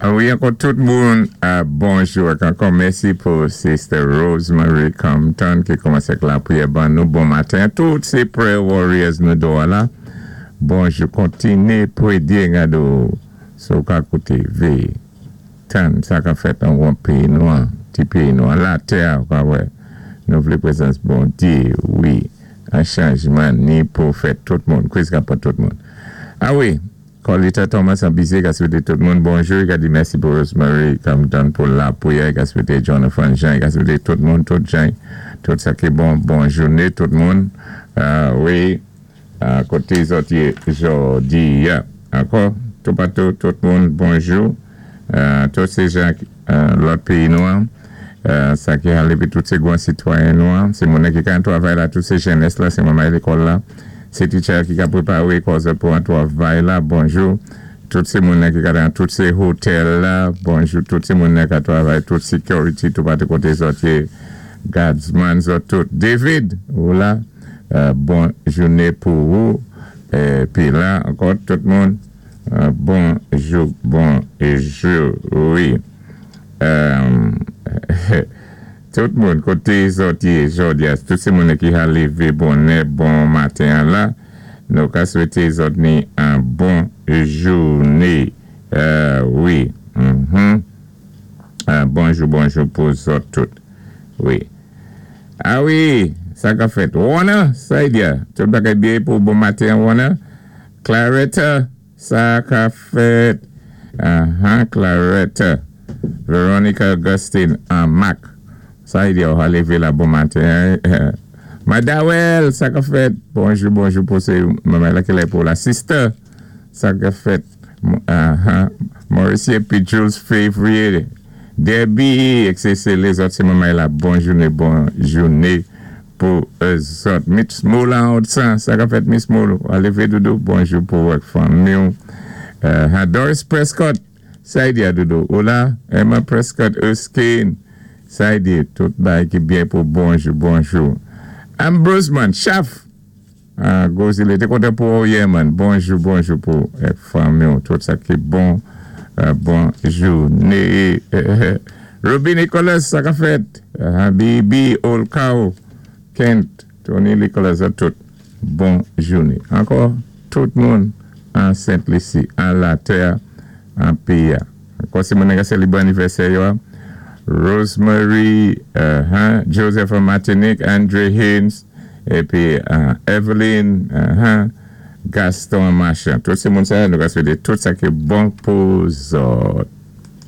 Wi, ankò tout moun, bonjou ak ankò mèsi pou Sister Rosemary Compton ki kòmansé ak lapriyè ban nou bon maten. Tout sé prayer warriors nou do a la. Bonjou, kontiné pwédyé gado sa ou ka kouté, véyé, tann sa ka fèt anwon péyi nou an, ti péyi nou an, latè a ou ka wè nou vlé prezans Bondyé, wi, an chanjman ni pou fèt tout moun, kriz ka pran tout moun. A wi! Carlita Thomas an bize ka swete tout moun bonjou, i ka di mèsi pou Rosemary Compton pou lapriyè, i ka swete Jonathan Jean, i ka swete tout moun, tout jan, tout sa ki bon, bon jouné tout moun, wi, koté zòt yé jòdi a, ankò, toupatou tout moun bonjou, tout sé jan lòt péyi nou an, sa ki ale pi tout sé gwan sitwayen nou an, sé moun ki ka travay la, tout sé jènès la, sé manmay lékòl la. Se teacher ki ka prépawé kò zòt pou an twavay la, bonjou. Tout sé moun ki ka nan tout sé hotel la, bonjou. Tout sé moun ka twavay, tout security toupatou koté zòt yé, guardsman zòt tout. David, ou la, bon jouné pou ou. Pi la ankò tout moun, bonjou, bonjou, wi. Tout moun koté zòt yé jòdi a tout sé moune ki ha lévé bonè bon maten an la nou ka swété zòt ni an bon jouné wi humm bonjou bonjou pou zòt tout wi a wi sa ka fèt Warner Saidia tout bagay byen pou bon maten an Warner Claretta Sa ka fèt Ahan Clarette Veronica Augustine an Mak Sa li di ou leve la bon maten Madawel sa ka fèt Bonjou bonjou pou se manman la kilè pou la sister sa ka fèt Ahan Mauricie epi Jules Fevrier Debbie etc lezòt se manman la bon joune bon joune Pou zòt. Miss Moula Odsan, sa kap fèt Miss Moul? Wa leve doudou, bonjou pou ou ak fanmi w. Ha Doris Prescott, sa y di a doudou? Ou la? Emma Prescott Erskine, sa y di? Tout bagay ki byen pou bonjou, bonjou. Ambrose man, chaf! Ah gwo zile, te kontan pou ou yè man. Bonjou, bonjou pou ou ak fanmi w. Tout sa ki bon, bon joune. Ruby Nicholas, sa kap fèt? Habibi, Olkaw, Kent, Tony Nicholas ak tout bon joune. Ankò tout moun an Sent Lisi, an latè, an peyi a. Ankò se moun nan ka selebre anivèsè yo a, Rosemary, Joseph an Matinik, Andre Haynes, epi Eveline, Gaston an Machan. Tout se moun sa yo nou ka swete tout sa ki bon pou zòt.